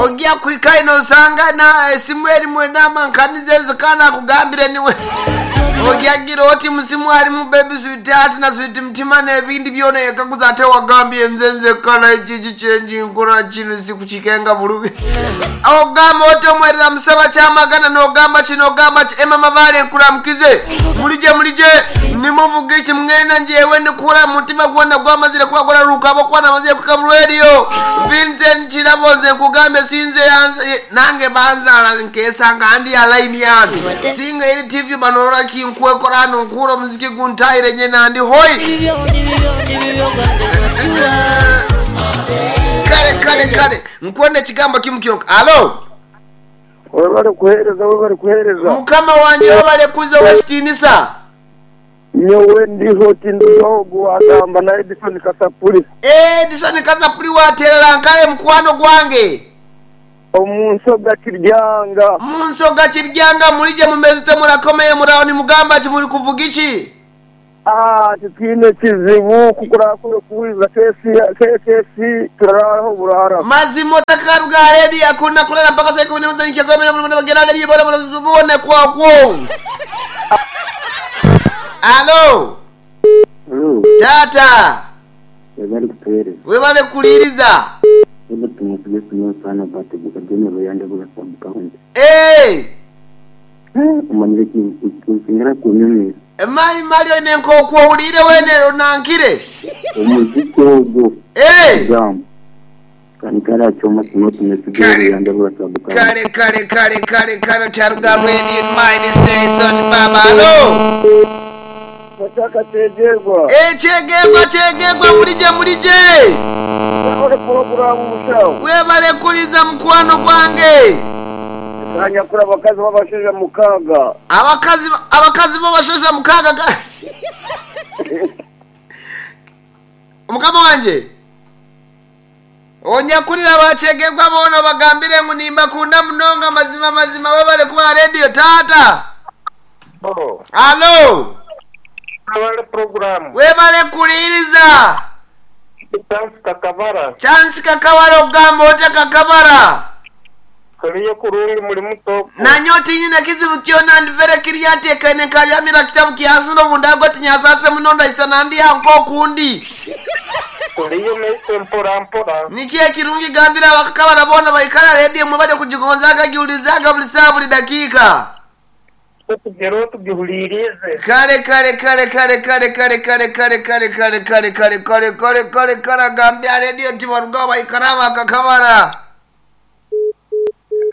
Ojja kuhika ino osanga na esimu erimu enamba nkanize ezo kandi akugambire niwe. Ojja gira oti musimu alimu baby sweetheart na sweet mtima n'ebindi byona yekaguza ate wagambye nze nzekka naye kiki kyenji nkola kino sikukikenga bulungi. Ogamba oti omwerera musaba kyamagana n'ogamba kino ogamba ki Emma Mabale nkuramukize mulije mulije nimuvuga iki mwena njewe nikura mutima gwona gwamazire kuba guraruka abo namazire kuka radio Vincent Kirabo nze nkugambye sinze yanze nange banzala nkesanga ndi ya line yanu singa eri TV banorora kinkwekora hano nkura omuziki guntahire nye nandi hoi kale kale kale nkwenda ekigambo kimu kyonka alo Webale kuheereza webale kuheereza. Mukama wangye webale kuza ow'ekitiinisa. Nyowe ndiho tinduga agamba na Edison Kasapuri. Edison Kasapuri waterera nkaye mukwano gwange. Omu nsoga Kiryanga. Mu nsoga Kiryanga mulije mumeze murakomeye muraho nimugamba ki muri kuvuga iki? Ah, titwine kizibu kukurakure kuwuriza kesi kesi turaraho burara. Mazima otakaruga redi akuna kulala mpaka saa kumi n'imwe z'ekiro muri bagera redi bora bone kwa kwo. Alo. Tata. Webale kutuheereza. Webale kuliriza. Robert Mutuge Simeon Sana Bate Bukadene Ruyande Bura Sub County. Eh. Omanyire kinsingera kunyumira. Mali mali oine nk'okwowulire wene onankire. Omuziki ogwo. Eh. Jam. Kanikara choma Simeon Mutuge Ruyande Bura Sub County. Kale kale kale kale kale taruga radio mine station baba. Alo. Nataka kyegyerwa. Eh kyegegwa kyegegwa mulije mulije. Webale puroguramu mushaho. Webale kuliza mukwano gwange. Kanyakura abakazi b'abashaija mukaaga. Abakazi abakazi b'abashaija mukaaga ga. Mukama wanje. Onyakulira bakyegegwa boona bagambire ngu nimbakunda munonga mazima mazima webale kuba radio taata. Oh. Alo. Webale puroguramu. Webale kuliriza. Chance Kakabara. Chance Kakabara ogamba otya Kakabara? Kaliyo kurungi muri mutoko. Nanyo tinyine kizibu kyona ndivere kirya tekene kabyamira kitabu kyasino bundago tinyasase muno ndaisa nandi anko kundi. Kuliyo meise mpora mpora. Niki ekirungi gambira abakakabara bona baikara radio mwe bade kujigonzaga giulizaga buli saa buli dakika. Tugero tugihulirize. Kale kale kale kale kale kale kale kale kale kale kale kale kale kale kale kale gambia radio nti baruga baikara bakakabara.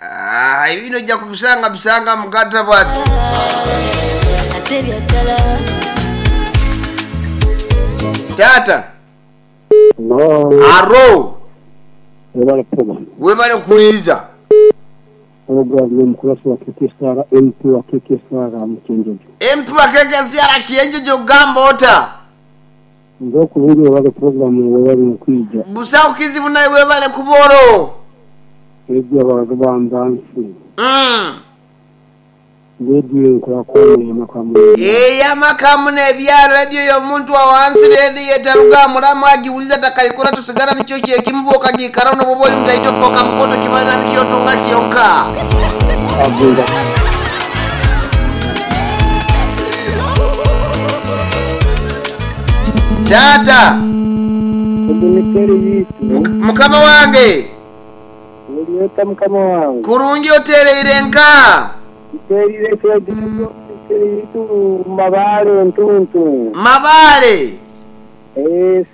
Ah, ibino ojja kubisanga bisanga mukata bwati. Tata. No. Aro. Webale program. Webale kuliza. Program y'omukulasi wa KKSR MP wa KKSR mu Kyenjojo. MP wa KKSR Kyenjojo ogamba ota. Nze okulungi webale program webale mukwija. Busawo kizibu naye webale kuboro. Ebyo abantu bandansi. Radio nkola kwamwe makamu. Eyamakamu n'ebya radio y'omuntu wa wansi radio etaruga mulamu agiwuliza takaikora tusigara nikyo kyekimuboka giikara nobuba oli mutaito foka mukono kibalira nikyotunga kyonka. Agenda. Tata. Mukama wange. Olieta mukama wange. Kurungi otereire nka. Nterire kyegitu mabale ntuntu. Mabale.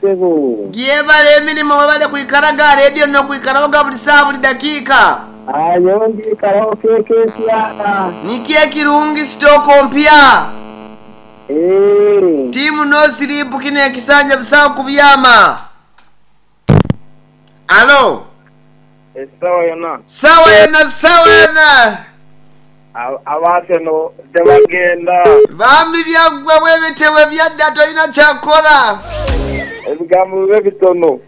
Sebo. Gyebale emirimu webale kwikaraga radio n'okwikaraho buli saa buli dakiika. Ayo ndikaraho KKSR. Niki ekirungi sitoko mpya. Timu no sleep kino ekisanja busawo kubyama. Alo. Sawa yona. Sawa yona sawa yona. Abaseno tebagenda. Bambi byaggwa bwebitewe byadda tolina kyakola. Ebigambo bibe bitono.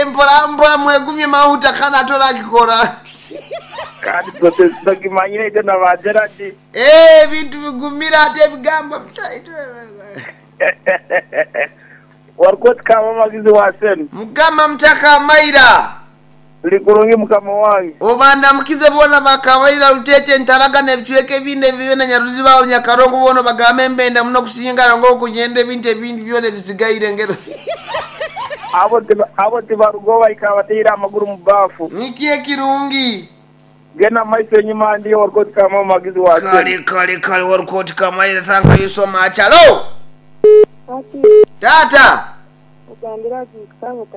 Mpola mpola mwegumye mahuta kana tolakikola. Kandi tokimanyire ite na ba Gerard. Ebintu bigumira ate ebigambo bitaito. Warikoti kama magizi wa senu. Mugamba mutaka amaira. Tuli kurungi mukama wange. Obandamukize boona ba Kabaira, Ruteete, Ntaraga n'ebicweka ebindi ebibe na Nyaruziba aho Nyakarongo boona obagambe mbenda muno okusingana ng'okunyenda ebintu ebindi byona ebisigaire ngero. Abo abo tibarugaho baikara bataire amaguru mu baafu. Niki ekirungi? Genda mu maiso enyima ndiyo Warukoti Kamawe Magizi wa Kale Sente. kale kale Warukoti Kamaire thank you so much. Hallo! Hati Taata! ogambire agiika ngu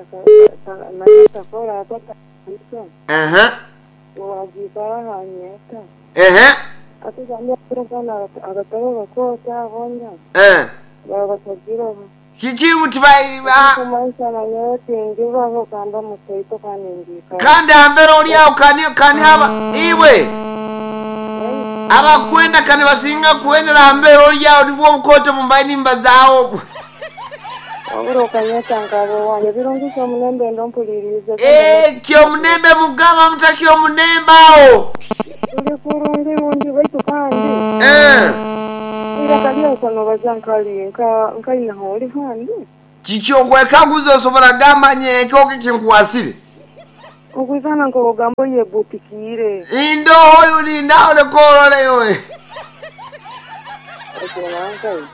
naye takora atatandika Ehe. ngu agiikara aha nyeta. Ehe. Ati ogambire akana agatabo gakoota boona Eh. baba batagireho. Kiki ngu tibai ba Kumanyisa na nyowe tingibaho kandi omutoito kandi ngiikara. kandi hambere oli awo kani kani haba iwe abakwenda kani basinga kuendera hambere oli awo nibwo obukoto mumbaye nimba zaawo obwo. Wabura okanyeta nkaba wange birungi kyomunembe ndompuliriize. Eh, kyomunembe mugamba muta kyomunembe awo. Tuli kurungi rungi baitu kandi Eh. iraka lyako nobaza nkali nka nkainaho oli handi. Kiki okwekaguza osobola gamba nyereke okikinkwasire. Okwizana nk'obugambo yebutikiire. Indoho yulinda olekorole yowe. Ekyo nankayi.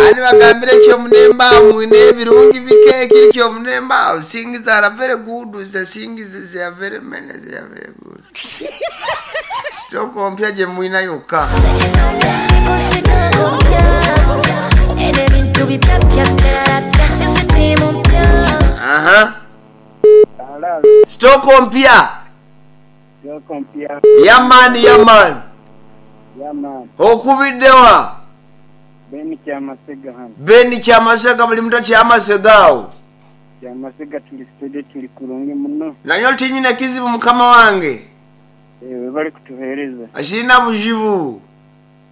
Ani bagambire kyomunembe awo mwine ebirungi bike ekiri kyomunembe awo things are very good the things they are very many they are very good. Sitoko mpya gye mwina yokka. Aha. Sitoko mpya. Sitoko mpya. Yaman yaman. Yaman. Okubiddewa. Beni Kyamasega hano. Beni Kyamasega buli muntu Kyamasega awo. Kyamasega tuli studio tuli kurungi muno. Nanyo tinyina kizibu mukama wange. Ewe bali kutuheereza. Ashirina buzibu.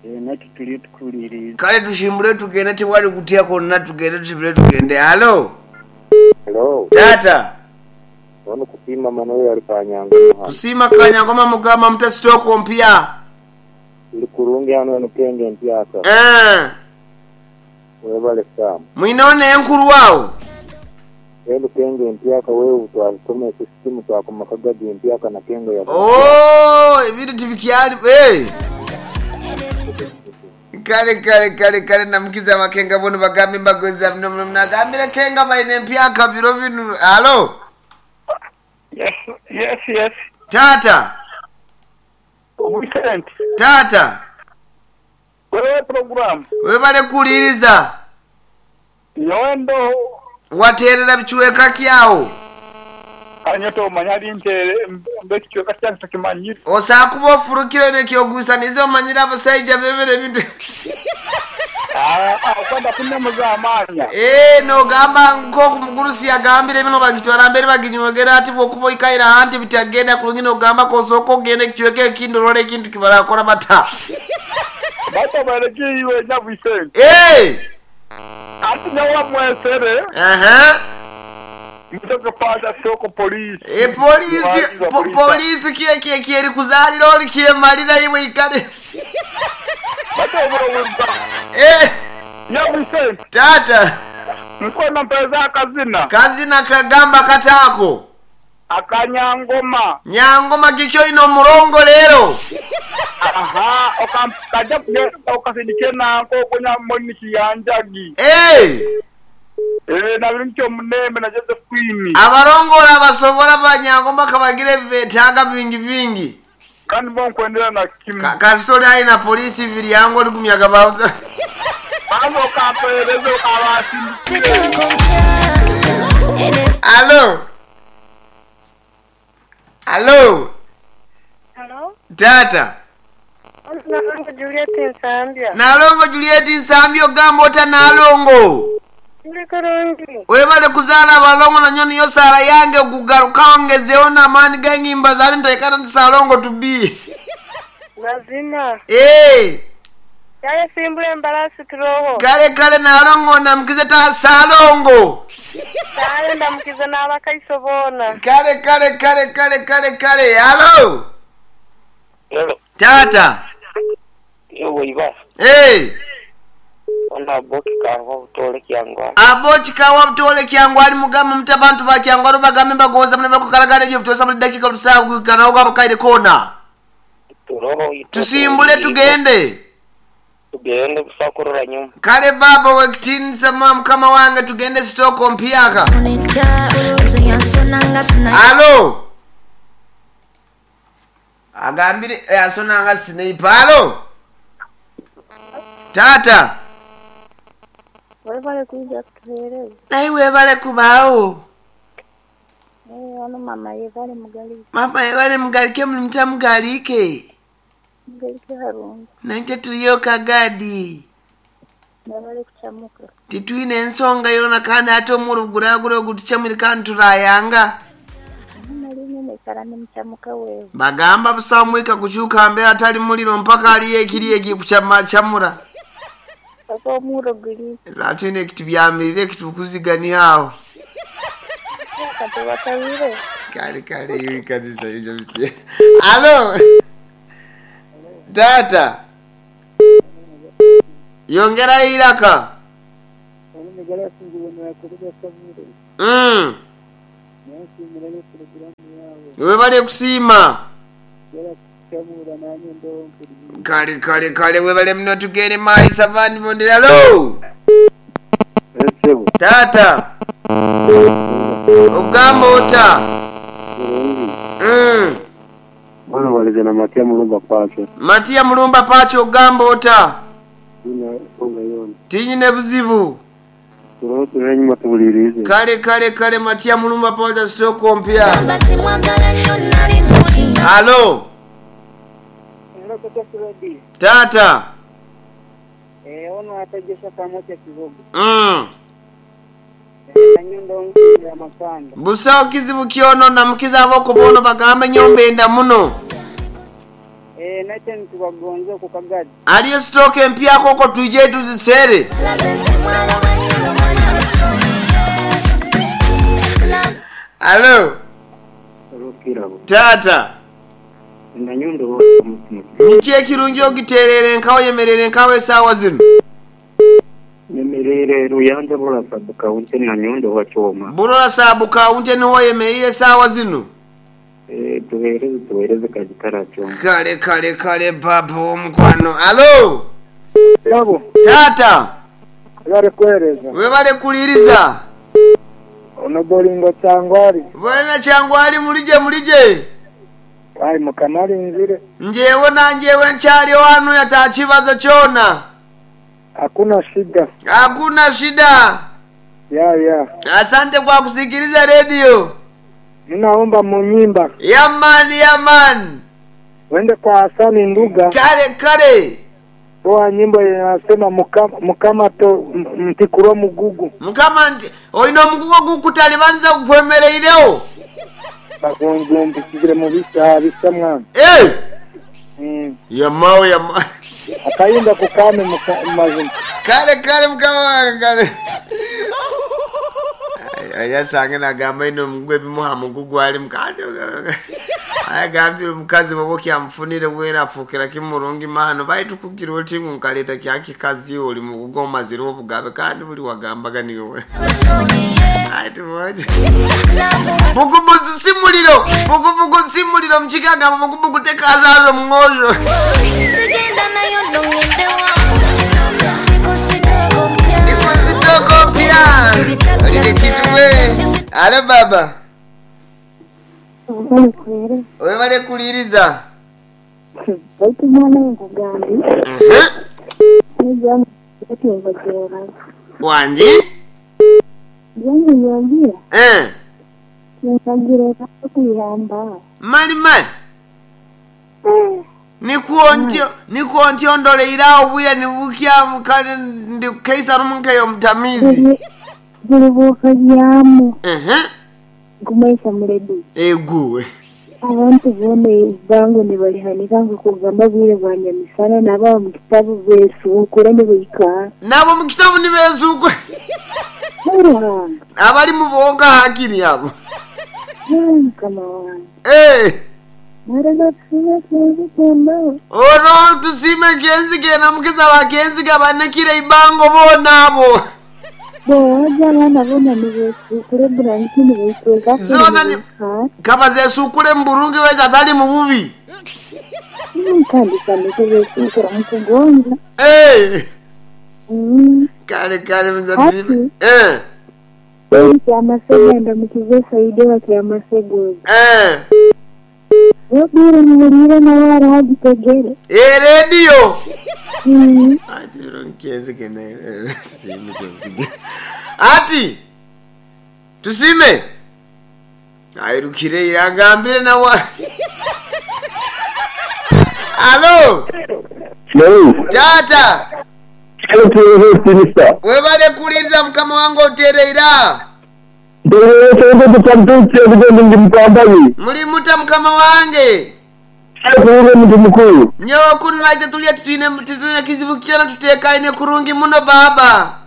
Naki tuli tukuliriza. Kale tushimbule tugende tewali kutya kwonna tugende tushimbule tugende. Halo. Hello. Tata. Ono kusiima Manuel ali Kanyangoma hano. Kusiima Kanyangoma mugamba muta sitoko mpya. Tuli kurungi hano eno kenge mpyaka. Eh. Webale Sam. Mwina n'enkulu awo. Eno kenge mpyaka wewe twasoma esisimu twakoma kagadi mpyaka na kenge ya. Oh, ebintu tibikyali. Eh. Kale kale kale kale namukiza abakenga bono bagambe mbagoza muno muno nagambire kenga baine empyaka biro bino. Halo. Yes, yes, yes. Tata. Vincent, Tata. wewe program. Webale kuwuliriza. Nyowe ndo Wateerera bikiweka kyawo. kanyoto omanya ali ntere mbe ekicweka kyange takimanyire. Osobola kuba ofurukire nekyogusaniza omanyire abasaija bebere ebintu. Ah, okwenda kunemuza amanya. Eh, nogamba nk'oku mugurusi yagambire bino bagitwara mbere baginywegera ati bwokuba oikaire ahantu bitagenda kurungi nogamba kosooka ogenda ekicweka ekindi orole ekintu kibarakora bata. Baita baregiwe nya Vincent. Eh! Ati nyowe mwesere Aha. mutoke paja soko polisi. E polisi po, polisi kiye kiye kiye kuzalira oli kyemalira iwe ikale. Baita obulowuza. Eh, Nya Vincent, tata. nkwena mpeza akazina Kazina kagamba katako. akanyangoma. Nyangoma kikyo ino murongo lero. Aha, okaja kugenda okasindike nanko okunya moniki yanjagi. Eh! Eh, na bintu kyomunembe na Joseph Queen. Abarongola abasobola banyangoma kabagire betaaga bingi bingi. Kandi bo nkwendera na kimu. Kasitoli alina polisi bibiri yangu oli kumyaga bawuza. Baza okampereza okabasindikire. Alo. Alo. Hello? Tata. Nalongo Juliet Nsambya. Nalongo Juliet Nsambya ogamba ota Nalongo. Tuli kurungi. Webale kuzaala abalongo nanyo niyo saala yange okugaruka ongezeewo n'amaani g'enyimba zaali ntaikana nti Salongo to be. Mazima. Eh, Yale simbula embalasi turoho. kale kale Nalongo namukize ta Salongo. Kale ndamukiza n'abakaiso boona. Kale kale kale kale kale kale. Halo. Hello. Tata. Yo iba. Eh, Ono Ono Aboki Kawa Butore Kyangwali. Aboki Kawa Butore Kyangwali mugambe muti abantu ba Kyangwali bagambe mbagonza muno bakukaraga radio butosa buli dakika busa kanawo kaire kona. Turoho itwe Tusimbule tugende. Tugende busa kurora nyuma. Kale baba wekitinisa mukama wange tugende sitoko mpyaka. Alo. Agambire asonanga sniper. Alo. Tata. Webale kuija kutuheereza. Naye webale kubaawo. Wano mama yebale mugalike. Mama yebale mugalike muli mutamugalike. Mugalike harungi. Naite tuliyo kagadi. Mwebale kuchamuka. Titwine ensonga yona kandi ate omuro guragura ogutuchamire kandi turayanga. Nalikara nimuchamuka wewe. Bagamba busamwika kuchuka mbe atali muliro mpaka aliye ekiri ekikuchamura. Paka omuro guri. Atwine ekitubyamirire ekitukuziganiaho aho. Katubatawire. Kale kale ibi kabisa ibyo bise. Alo. Tata. Yongera iraka. Webale kusiima. Kale kale kale webale muno tugende maisa vandi bondera lo. Tata. Ogamba ota. Mwana walize na Matia Mulumba Pacho. Matia Mulumba Pacho ogamba ota. Tinyine buzibu. Kale kale kale Matia Mulumba Pacho sitoko mpya. Halo. Tata. Ono ategesha kamote kivugo. Busawo kizibu kyono namukiza ab'okubono bagambe nyombenda muno. Nate nitubagonza ku kagadi. Aliyo stroke empya koko tuje tuzisere. Halo. Tata. Niki ekirungi ogiterere nkawe yemerere nkawe esaawa zino. Nyemerere Ruyanja Burora sub county na Nyundo wa Choma. Burora sub county niho yemerire esaawa zino. Tuhereze kajikara Choma. Kale kale kale papa omukwano. Alo. Yabo. Tata. Webale kuhereza. Webale kuliriza. Ono bolingo Kyangwali. Bwana Kyangwali mulije mulije. Ai mukamali nzire. Njewe na njewe nkyali wanu yatakibazo kyona. Hakuna shida. Hakuna shida. Ya ya. Asante kwa kusikiliza radio. Ninaomba munyimba. Yaman yaman. Wende kwa Hasani Nduga. Kale kale. Toa nyimbo inasema mukama to mtikuro mugugu. Mukama oino mugugu gukutalibanza kukwemereireo. Bagonjombi kigire mu bisa bisa mwana. Eh. Yamao yama. Akayimba kukame mazima. Kale kale mukama kale. Ayasange nagamba ino mugwe bimuha mugugu ali mukandi. Ayagambire omukazi bwoba okyamufunire bwera afuukira kimurungi mano baitu kugira oti nkaleta kyakikazi oli mugugu omazire obugabe kandi buli wagambaga niwe. Ayi bugubugu si muliro bugubugu si muliro mukigagamba bugubugu tekazazo mungosho. Nikusitoko pia. Lile chituwe. Alo baba. Webale kuliriza. Baitu mwana nkugambi. Wanji? Yangu Mali mali. Nikuontio ndoleirao buya nibukia mukale ndi keisa rumunkeyo mutamizi. Bulibuka byamu. Gumaisa muledi. Eguwe. Abantu bone bangu nibalihanika kugamba bwire bwa nyamisana nabo mu kitabu besukura nibika. Nabo mu kitabu nibesukura. Abali mu bonga hakiri abo. Kama wange. Eh. Mara tusiime kyenzigembaho. Olwo tusiime Kyenziga enamukiza ba Kyenziga banekire eibango boona abo. Booja abaana boona nibesuukura eburangiti nibeitweka kare Zoona ni nibeikara. kabazesuukure mu burungi waitu atali mu bubi. Kandi kandeke besuukura mu kugonza. Eh. Kale kale muza tusiime. Hati Eh. Kyamasega ndamukize Saidi wa Kyamasega ogu. Eh. Obwire mubuliire nawe ariho agitegere. Eh radio. Ati Kyenziga naye tusiime Kyenziga. Ati tusiime. Airukire iragambire nawe. Alo. Tata. Webale kulinza mukama wange otereera. Muli muta mukama wange. Nyowe kunu naite tulya titwine titwine kizibu kyona tutekaine kurungi muno baba.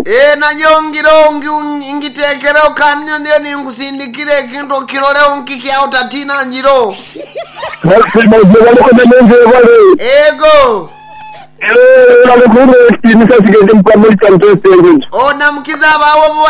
Eh nanyo ngiro ngi ngitekera kanyo ndiyo ninkusindikire ekintu okiroleo nkikya utatina njiro. Ego. Onamukiza abawo